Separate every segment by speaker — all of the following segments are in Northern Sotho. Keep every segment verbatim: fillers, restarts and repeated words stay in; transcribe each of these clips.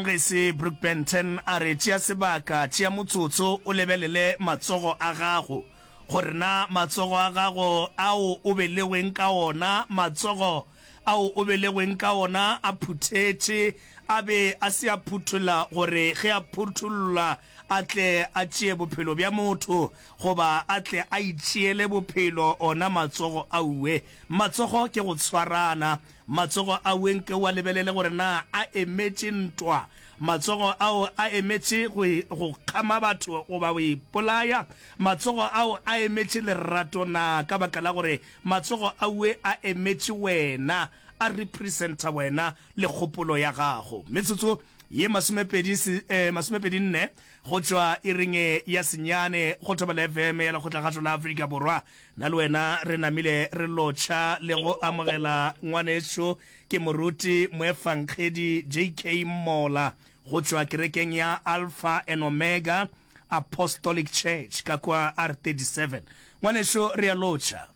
Speaker 1: Ge Brook Benton a re, Tšea sebaka, tšea motsotso o lebelele matsogo a gago, gore na matsogo a gago ao o belegweng ka ona, matsogo ao o belegweng ka ona a phuthetše, a be a se a phutholla gore ge a phutholla a tle a tšee bophelo bja motho, goba a tle a itšeele bophelo, ona matsogo auwe. Matsogo ke go tshwarana. Matsogo ao nke o a lebelele gore na a emetše ntwa. Matsogo ao a emetše go, go kgama batho goba go ipolaya. Matsogo ao a emetše lerato na, ka baka la gore matsogo aue a emetše wena, a representa wena le kgopolo ya gago. Metsotso ye masomepedi, eh, masomepedi nne go tšwa iring ya senyane go Thobela F M ya Lekgotlakgašo la Afrika Borwa. Nna le wena re namile re lotšha le go amogela ngwanešo ke moruti moefankgedi J K Mmola go tšwa kerekeng ya Alpha and Omega Apostolic Church ka kwa R thirty-seven. Ngwanešo re a lotšha.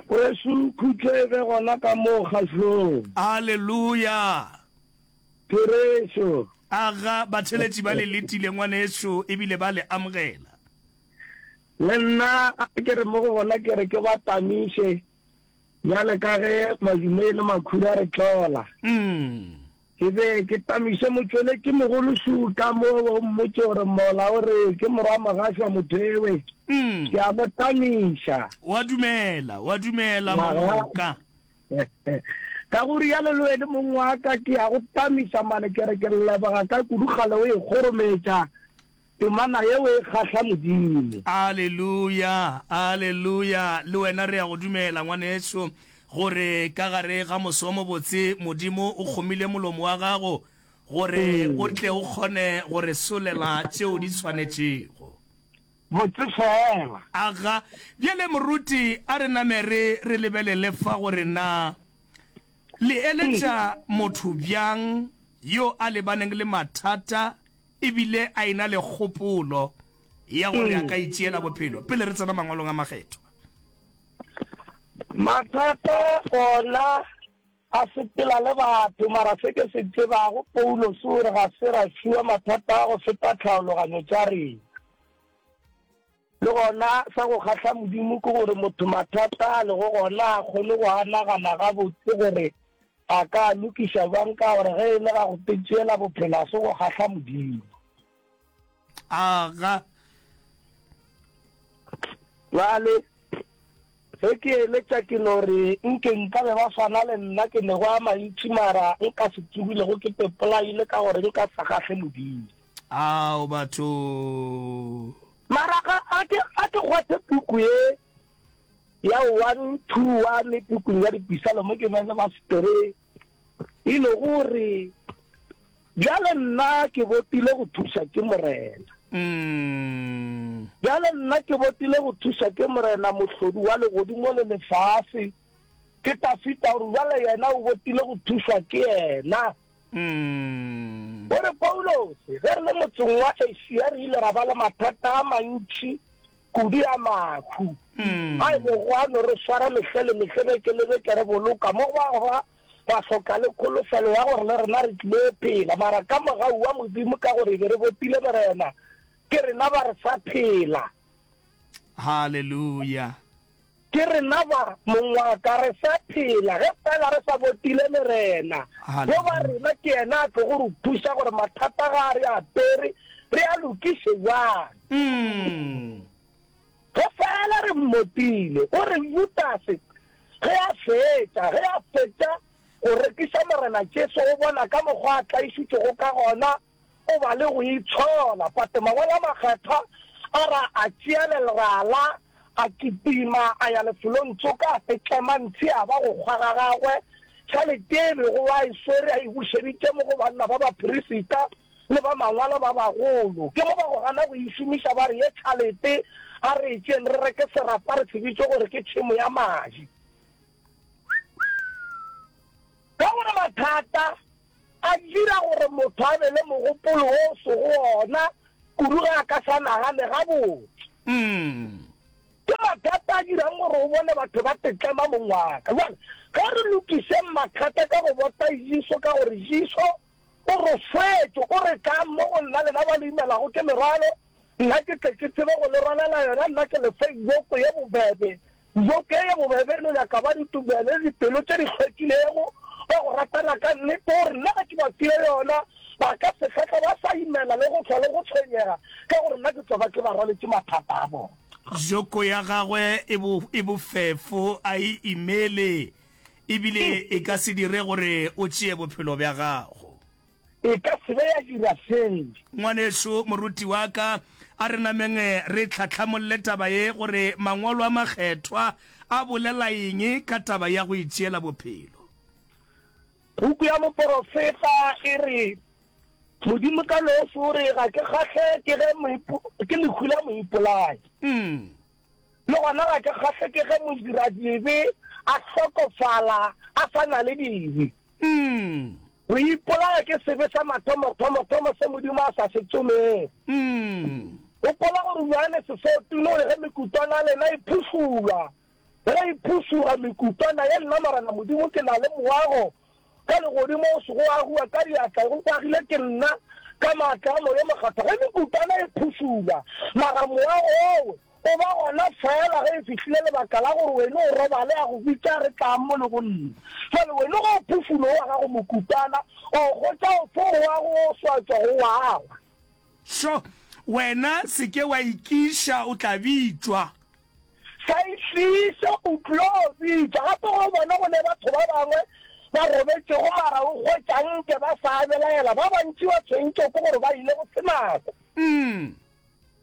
Speaker 2: Wesu khutšo e be gona ka moo kgahlong.
Speaker 1: Haleluya.
Speaker 2: Therešo.
Speaker 1: Aga batheletši ba le letile ngwanešo ebile ba le amogela.
Speaker 2: Le nna a ke re mo go bona ke re ke ba tamiše bjale ka ge madume le makhura re tlola.
Speaker 1: Mm.
Speaker 2: Ke be ke tamiše motšweletši mogolo Šuta mo o mmotše gore mola o re ke morwa mogašwa mothewe.
Speaker 1: Mm.
Speaker 2: Ke a mo tamiša.
Speaker 1: Wa dumela, wa dumela
Speaker 2: Maga.
Speaker 1: moka.
Speaker 2: Ka go rialo le wene mong wa ka ke ya go tamiša mane ke re ke leboga ka kudu kgale o e kgorometša temana yeo e kgahla Modimo.
Speaker 1: Aleluya, aleluya. Le wena re ya go dumela ngwaneso gore ka gare ga moso o mobotse Modimo o kgomile molomo wa gago gore o tle o kgone go re solela tšeo di tshwanetšego.
Speaker 2: Botse fela.
Speaker 1: Aga, bjale moruti a re name re re lebelele fa gore na le eletša motho bjang yo a lebaneng le mathata ebile a ena le kgopolo ya gore a ka itšeela bophelo pele re tsena mangwalong a makgethwa.
Speaker 2: Mathata ona a sepela le batho, mara se ke se tsebago Paulos o re ga se ra fiwa mathata a go feta tlhaologanyo tša rena. Le gona sa go kgahla Modimo ke gore motho mathata a lego gona a kgone go a nagana gabotse gore a ka lokiša bjang, ka gore ge e le ga go tšeela bophelo a se go kgahla Modimo.
Speaker 1: Aga.
Speaker 2: Bjale ge ke eletša ke no re nke nka be ba swana le nna ke nego a mantši mara nka se tsogilego ke pepolaile ka gore nka sa kgahle Modimo.
Speaker 1: Ao batho.
Speaker 2: Mara ga a ke a ke kgwathe puku ye ya one two one pukung ya dipisalome ke bele ba setere e le gore bjale nna ke botile go thuša ke Morena.
Speaker 1: Mm.
Speaker 2: Bjale nna ke botile go thuša ke Morena mohlodi wa legodimo le lefase. Ke Tafita gore bjale yena o botile go thušwa ke yena.
Speaker 1: Mm.
Speaker 2: O re Paulus, ge re le motseng wa Asia re ile ra ba le mathata a mantši kudu a mahu.
Speaker 1: Mm.
Speaker 2: A e bego a no re swara mehle le mehle beke le beke re boloka mo ba ba ba hloka le kholofelo ya gore le rena re tlile phela, mara ka mogau wa Modimo ka gore be re botile Morena ke rena ba re sa phela.
Speaker 1: Hallelujah.
Speaker 2: Ke rena ba mongwaka re sa phela ge fela re sa botile Morena. Go ba rena ke yena a tlo go re thuša gore mathata ga a re apere re a lokiše jwang.
Speaker 1: Mm.
Speaker 2: Ge fela re mmotile, o re Judase ge a fetša, ge a fetša go rekiša Morena Jesu, o bona ka mokgwa a tlaišitšego ka gona, o ba le go itshola. Pate mangwalo a makgethwa a ra a tšea lerala, a kitima a ya lefelong tsoka, a setlema ntshi a ba go kgwa ga gagwe. Tšhelete e bego a e swere a e bušeditše mo go banna ba baperisita le ba mangwalo ba bagolo. Ke mo ba go gana go e šomiša, ba re ye tšhelete a re e tšeeng re reke serapa re se bitše gore ke tšhemo ya madi. Ka gore mathata a dira gore motho a be le mogopolo wo o sego ona kudu ge a ka sa nagane gabotse.
Speaker 1: Mm.
Speaker 2: Ke mathata a dirang gore o bone batho ba tetlema mongwaka. Jwale ge re lokišeng mathata ka go bota Jesu, ka gore Jesu O rofetše, o re, Tlang mo go nna, lena ba le imelago ke merwalo, nna ke tle ke tsebe go le rwalela yona, nna ke le fe joko ye bobebe. Joko ye ye bobebe e no nyaka ba ditumelo le dipelo tše di hlwekilego, ba go ratana ka nnete, o re, Nna ge ke ba file yona, ba ka se hlwe ba sa imela le go hlwa le go tshwenyega, ka gore nna ke tlo ba ke ba rwaletše mathata a bona.
Speaker 1: Joko ya gagwe e bo, e bofefo, a e imele, e bile e ka se dire gore o tšee bophelo bja gago.
Speaker 2: E ka se be ya dira seo.
Speaker 1: Ngwanešu, moruti wa ka, a re nameng re hlahlamolle taba ye gore Mangwalo a Makgethwa a bolela eng ka taba ya go itšeela bophelo.
Speaker 2: Puku ya moporofeta e re, Modimo ka noši o re, Ga ke kgahle ke ge ke lehu la moipolai. Le gona ga ke kgahle ke ge modiradibe a hlokofala a sa na le dibe. Go ipolaya ke sebe sa mathomothomo-thomo se Modimo a sa se tsomego. Gopola gore Johane Sesotune o re ge mekutwana ya lena e phušulwa, ge e phušuga mekutwana ye, nna Morena Modimo ke na le moago ka legodimo o sego wa agiwa ka diatla, go agile ke nna ka maatla a Moya o Mokgethwa. Ge mekutwana e phušulwa, mara moago owe o ba gona feela ge e fihlile lebaka la gore wene o robale, a go bitša a re, Tlang mo le go nna. Jwale wene ge o phušula owa gago mokutwana, o hwetša ofe moago wo o sa tšwago wa agwa?
Speaker 1: Sho, wena se ke wa ikiša, o tla bitšwa.
Speaker 2: Sa itliše, o tlo bitšwa. Gape ge o bona go ne batho ba bangwe ba robetšego mara o hwetša nke ba sa belaela, ba bantši ba tshwentšwe ke gore ba ile go se nako.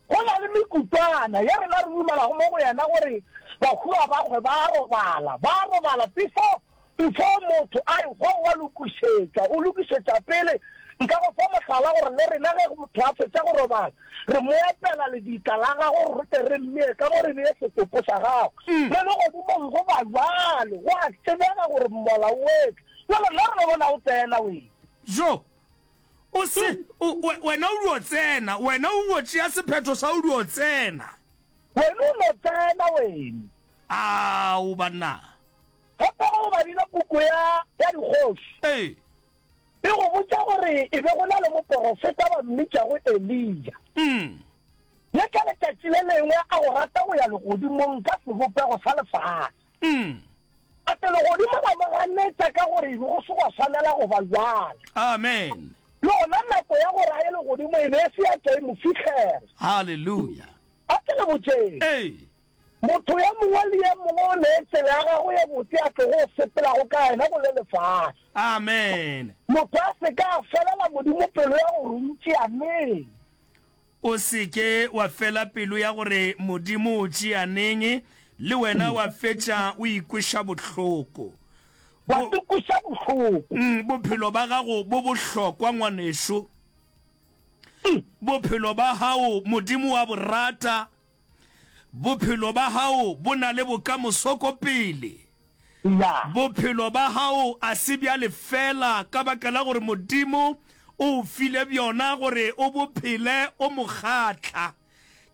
Speaker 2: Go na le mekutwana ye rena re dumelago mo go yena gore bahu ga ba hwe, ba a robala. Ba a robala before, before motho a ehwa o a lokišetšwa, o lokišetša pele. Nka go fa mohlala gore le rena ge motho a fetša go robala, re mo epela lebitla la gagwe gore re tle re mmee ka mo re bee setopo sa gagwe. Le legodimong go ba bjalo, go a tsebega gore mmola o etla. Bjale nna re no bona o tsena wena.
Speaker 1: Jo, o se, o, we, wena o dio tsena, wena o dio tšea sephetho sa o dio tsena.
Speaker 2: Wena o no tsena, wena.
Speaker 1: Ao, banna.
Speaker 2: Gape ge o badile puku ya, ya Dikgoši,
Speaker 1: Ee.
Speaker 2: e go botša gore e be go na le moporofeta ba mmitšago Eliya.
Speaker 1: Mm.
Speaker 2: Ye ka letšatši le lengwe a go rata go ya legodimong ka sebopego sa lefase.
Speaker 1: Mm.
Speaker 2: A tle legodimo la mo ganetša ka gore e be go se gwa swanela go ba bjalo.
Speaker 1: Amen.
Speaker 2: Le gona nako ya gore a ye legodimo e be e se ya tšwa e mo fihlela.
Speaker 1: Haleluya.
Speaker 2: A ke le botšeng.
Speaker 1: Ee.
Speaker 2: Motho yo mongwe le yo mongwe o ne tsela ya gagwe ye botse a tlogo sepelago ka yena go le lefase.
Speaker 1: Amen.
Speaker 2: Motho a se ka a felela Modimo pelo ya gore o ntšea neng.
Speaker 1: O se ke wa fela pelo ya gore Modimo o tšea neng, le wena wa fetša o ikweša bohloko.
Speaker 2: Wa ikweša bohloko.
Speaker 1: Bophelo ba gago bo bohlokwa, ngwanešu. Bophelo ba gago Modimo wa bo rata. Bophelo ba gago bo na le bokamoso ko pele.
Speaker 2: Ya.
Speaker 1: Bophelo ba gago a se bja lefeela ka baka la gore Modimo o o file bjona gore o bo phele o mo kgahla.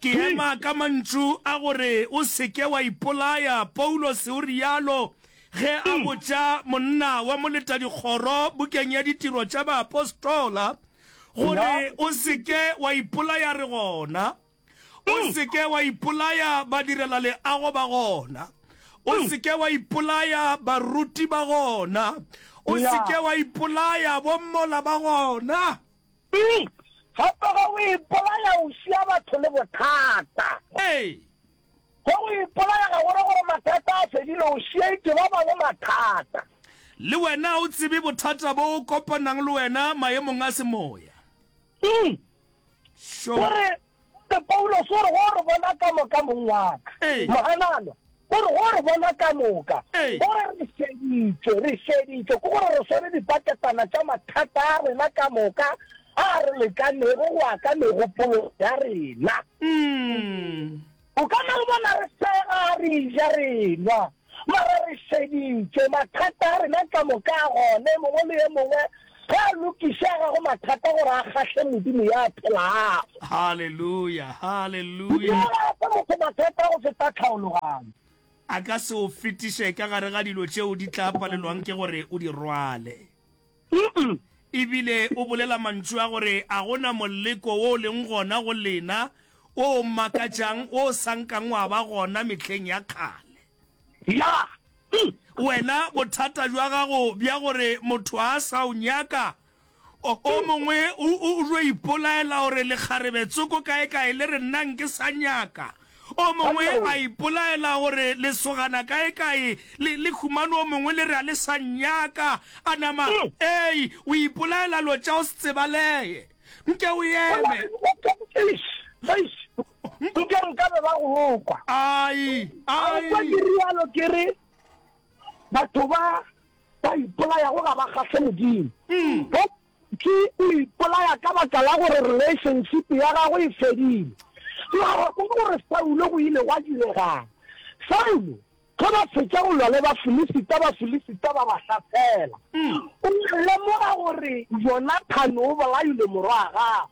Speaker 1: Ke ema ka mantšu a gore o se ke wa ipolaya, Paulose o realo ge a botša monna wa moletadikgoro bukeng ya Ditiro tša Baapostola gore o se ke wa ipolaya re gona. O se ke wa ipolaya badirelaleago ba gona. O se ke wa ipolaya baruti ba gona. O se ke wa ipolaya bommola ba gona.
Speaker 2: Gape ge o ipolaya o šia batho le bothata.
Speaker 1: Ee.
Speaker 2: Ge o ipolaya ga go re gore mathata a fedile, o šiaetše ba bangwe mathata.
Speaker 1: Le wena o tsebe bothata bo o kopanang le wena maemong a semoya. Sure.
Speaker 2: O re, o re, Paulos o re, go re bona ka moka, mong wa ka.
Speaker 1: Ee.
Speaker 2: Moganana, o re, go re bona ka moka.
Speaker 1: Ee.
Speaker 2: O re re šeditšwe, re šeditšwe, ke gore re swere dipaketana tša mathata a rena ka moka a re lekanego go ya ka megopolo ya rena.
Speaker 1: Mm.
Speaker 2: O ka no re bona re sega, re ja, re nwa, mara re šeditšwe. Mathata a rena ka moka a gona, e mongwe le e mongwe ge a lokiše a gagwe mathata gore a kgahle Modimo ya phelago.
Speaker 1: Haleluya, haleluya.
Speaker 2: Modimo ga a fe motho mathata go feta tlhaologanyo.
Speaker 1: A ka se o fetiše ka gare ga dilo tšeo di tla palelwang ke gore o di rwale. Ebile o bolela mantšu a gore a go na moleko wo o leng gona go lena wo o makatšang wo o sa nkang wa ba gona mehleng ya kgale.
Speaker 2: Ya.
Speaker 1: Wena bothata bja gago bja gore motho a sa o nyaka, o, o mongwe o, o, o tlo ipolaela gore lekgarebe tsoko kaekae le re nna nke sa nyaka. O mongwe a ipolaela gore lesogana kaekae le, le humane o mongwe le re a le sa nnyaka. A nama, ei, o ipolaela lo tša o se tsebaleye. Nke o eme.
Speaker 2: Eish, eish, nke nkabe ba go kwa.
Speaker 1: Ai,
Speaker 2: A o kwa
Speaker 1: ai.
Speaker 2: ke rialo ke re batho ba ba ipolayago ga ba kgahle Modimo. Bo Ke o ipolaya ka baka la gore relationship ya gagwe e fedile. Mara kwa gore Saulo go ile gwa direga'ng? Saulo ge ba fetša go lwa le Bafilisita, Bafilisita ba ba hlasela. O a lemoga gore Jonathane o bolaile morwa wa gagwe.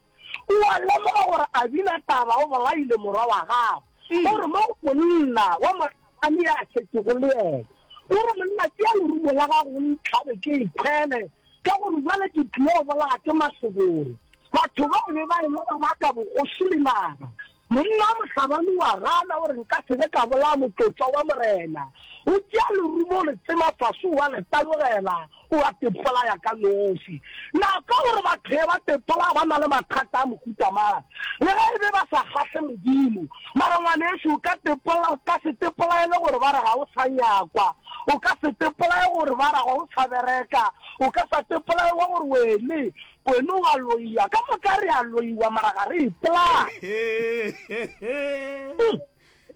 Speaker 2: O a lemoga gore Abinadaba o bolaile morwa wa gagwe. O re mo go monna wa mohlabani ya šetšego le yena, o re, Monna, tšea lerumo la gago o ntlhabe ke ikhwele. Ka gore bjale ke tlilo bolaya ke mašoboro. Batho ba be ba ema ba baka bogoši le naga. Monna wa mohlabani o a gana, o re, Nka se be ka bolaya motlotšwa wa Morena. O tšea lerumo o le tsema fase, o a le tabogela, o a tepolaya ka noši. Na ka gore batho ge ba tepolaya ba na le mathata a mohuta mang? Le ge e be ba sa kgahle Modimo. Mara ngwanešu, o ka tepola, o ka se tepolaele gore ba re ga o sa nyakwa. O ka se tepolae gore ba ra ga o sa bereka. O ka sa tepolae wa gore wene, wene o a loiwa. Ka moka re a loiwa mara ga re ipolaye.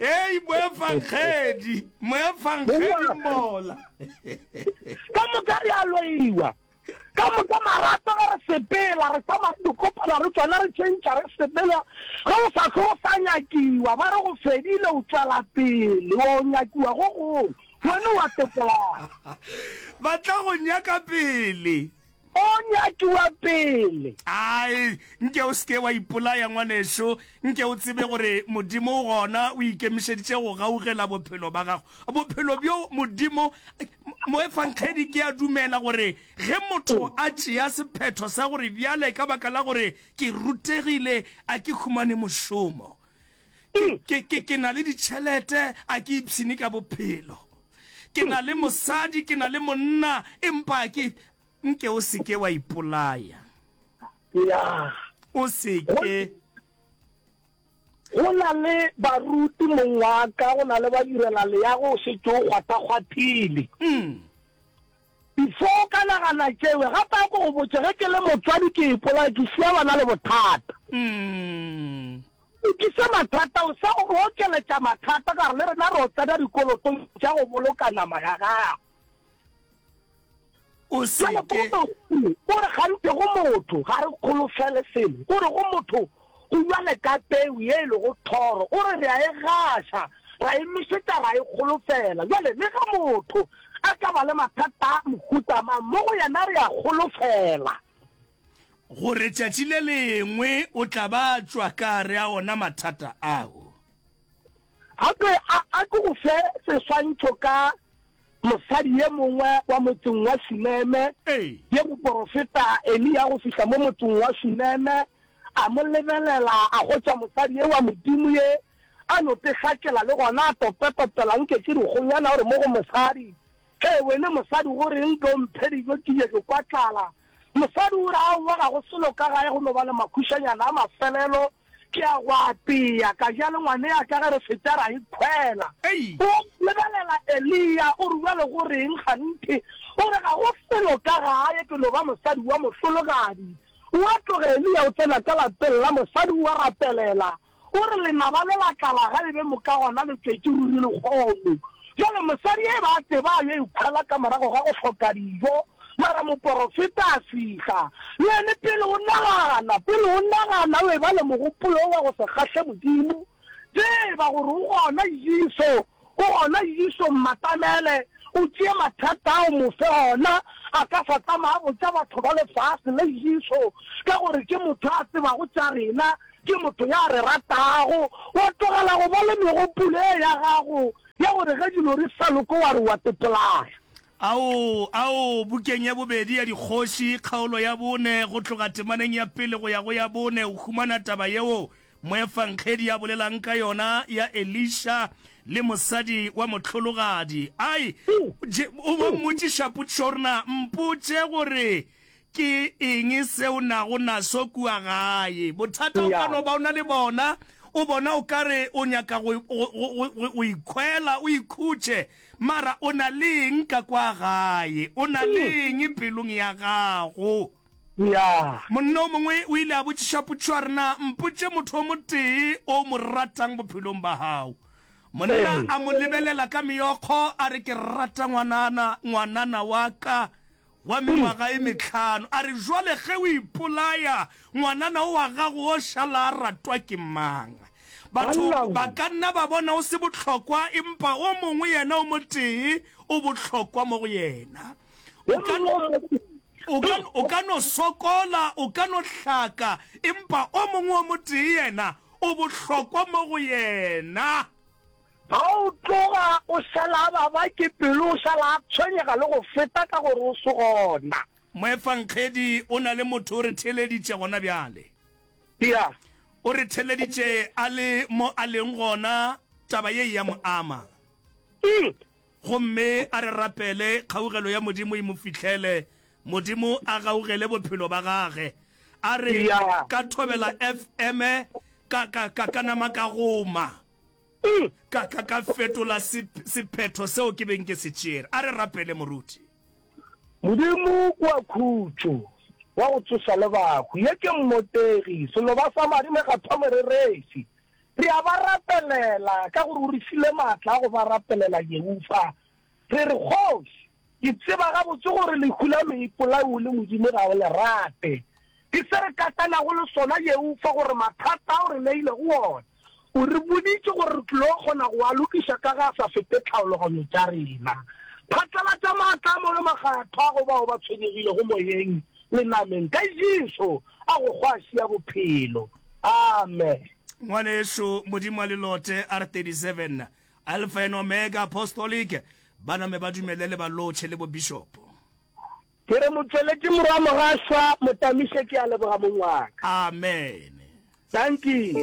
Speaker 1: Hei, moefangedi, moefangedi mola.
Speaker 2: Ka moka re a loiwa. Ka moka marato ge re sepela, re tsamaya re dikopana re tšona re tšhentšha re sepela. Ge o sa hlwe o sa nyakiwa, ba re go fedile, o tšwela pele, o nyakiwa go gongwe, wena o a tepolana.
Speaker 1: Ba tla go nyaka pele.
Speaker 2: O nyakiwa pele.
Speaker 1: Ai, nke o se ke wa ipolaya, ngwanešu. Nke o tsebe gore Modimo o gona, o ikemišeditše go gaugela bophelo ba gago. Bophelo bjo Modimo, moefangedi, ke a dumela gore ge motho a tšea sephetho sa gore bjale ka baka la gore ke rutegile, a ke humane mošomo, ke, ke, ke, ke na le ditšhelete, a ke ipshine ka bophelo, ke na le mosadi, ke na le monna, empa a ke, nke o se ke wa ipolaya.
Speaker 2: Ya.
Speaker 1: O se ke.
Speaker 2: Go na le baruti, mong wa ka, go na le badirelaleago, o šetše o kgwathakgwathile. Before o ka nagana tšewe, gape a ko go botše, ge ke le motswadi ke ipolaya, ke šia bana le bothata. Lokisa mathata, o sa o okeletša mathata ka gore le rena re o tsena dikolotong tša go boloka nama ya gago.
Speaker 1: O se
Speaker 2: Bjale
Speaker 1: ke.
Speaker 2: Paulo o re gantši go motho, ga re kgolofele selo. O re go motho, go bjale ka peu ye e lego thoro. O re re a e gaša, ra e nošetša, ra e kgolofela. Bjale le ge motho a ka ba le mathata a mohuta mang, mo go yena re a kgolofela.
Speaker 1: Gore tšatši le lengwe o tla ba a tšwa ka gare a ona mathata ao.
Speaker 2: Gape a, a ke go fe seswantšho ka mosadi ye mongwe wa motseng wa Shuneme, ye moporofeta Eliya go fihla mo motseng wa Shuneme, a mo lebelela, a hwetša mosadi ye wa Modimo ye a no tehlakela le gona a topetopela nke ke dikgonyana, o re mo go mosadi, Hee wene mosadi, go reng ke o mphe dijo ke je ke kwa tlala? Mosadi o re, Aowa, ga go selo ka gae, go no ba le makhušanyana a mafelelo. Ke a go apea, ka ja le ngwane'a ka, ge re fetša ra ikhwela. O lebelela Eliya, o re, Bjale go reng kganthe? O re, Ga go selo ka gae, ke no ba mosadi wa mohlologadi. O a tloga Eliya o tsena ka lapeng la mosadi, o a rapelela. O re, Lenaba le la tlala ga e be moka gona le tšwetše ruri lehono. Bjale mosadi e ba a tseba a yo ikhwela ka morago ga go hloka dijo. Mara moporofeta a fihla. Le yene pele o nagana, pele o nagana o eba le mogopolo wa go se kgahle Modimo, tseba gore o gona Jesu, o gona Jesu, mmatamele, o tšee mathata a o mo fe ona. A ka sa tsamaya a botša batho ba lefase le Jesu, ka gore ke motho a tsebago tša rena, ke motho ya re ratago. Wa tlogela go ba le megopolo e ya gago ya gore ge dilo di sa loke wa re wa tepolaya.
Speaker 1: Ao, ao, bukeng ya bobedi ya Dikgoši, kgaolo ya bone, go tloga temaneng ya pele go ya go ya bone, o humana taba yeo moefangedi a bolelang ka yona ya Elisha le mosadi wa mohlologadi. Ai, je, o ba mmotšiša potšišo gore na mpotše gore Ke eng se o nago naso kua gae? Bothata o ka no ba o na le bona, o bona o ka re o nyaka go, go, go, go, go ikhwela, o ikhutše, mara o na le eng ka kwa gae? O na le eng pelong ya gago? Monna o mongwe o ile a botšiša potšišo a re, Na mpotše motho o motee o mo ratang bophelong ba gago. Monna a mo lebelela ka meokgo a re, Ke rata ngwanana, ngwanana wa ka. wa mengwaga e mehlano, a re, Jwale ge o ipolaya, ngwanana o wa gago o šala a ratwa ke mang? Batho ba ka nna ba bona o se bohlokwa, empa o mongwe yena o motee o bohlokwa mo go yena. O ka, o ka, o ka no sokola, o ka no hlaka, empa o mongwe o motee yena o bohlokwa mo go yena.
Speaker 2: Ga o tloga o šala a baba ke pelo, o šala a tshwenyega le go feta ka gore o se gona.
Speaker 1: Moefangedi o na le motho o re theeleditše gona bjale.
Speaker 2: Ya.
Speaker 1: O re theeleditše a le mo a leng gona, taba ye e a mo ama.
Speaker 2: Mm.
Speaker 1: Gomme a re rapele kgaugelo ya Modimo e mo fihlele, Modimo a gaugele bophelo ba gage. A re,
Speaker 2: Ya.
Speaker 1: Ka thobela FM, ka, ka, ka, ka nama ka goma. Ka, ka, ka fetola se, sephetho seo ke beng ke se tšere. A re rapele, Moruti.
Speaker 2: Modimo wa khutšo, wa go tsoša le bahu, ye ke mmotegi, seloba sa madi mekgatho morereši. Re a ba rapelela, ka gore o re file maatla a go ba rapelela, Jehofa. Re re, Kgoši, ke tseba gabotse gore lehu la moipolai o le Modimo ga o le rate. Ke se re katanago le sona, Jehofa, gore mathata ao re neilego wona, o re boditše gore re tlilo kgona go a lokiša ka ge a sa fete tlhaologanyo tša rena. Phatlalatša maatla a moyo makgathwa go bao ba tshwenyegilego moyeng le nameng, ka Jesu a go kgwaši ya bophelo. Amen.
Speaker 1: Ngwanešu, Modimo a le lote, R thirty seven, Alpha and Omega Apostolic, ba name ba dumele le ba lotšhe le bobishopo.
Speaker 2: Ke re motšweletši morwa Mogašwa Motamiše ke a leboga mong wa ka.
Speaker 1: Amen.
Speaker 2: Dankie.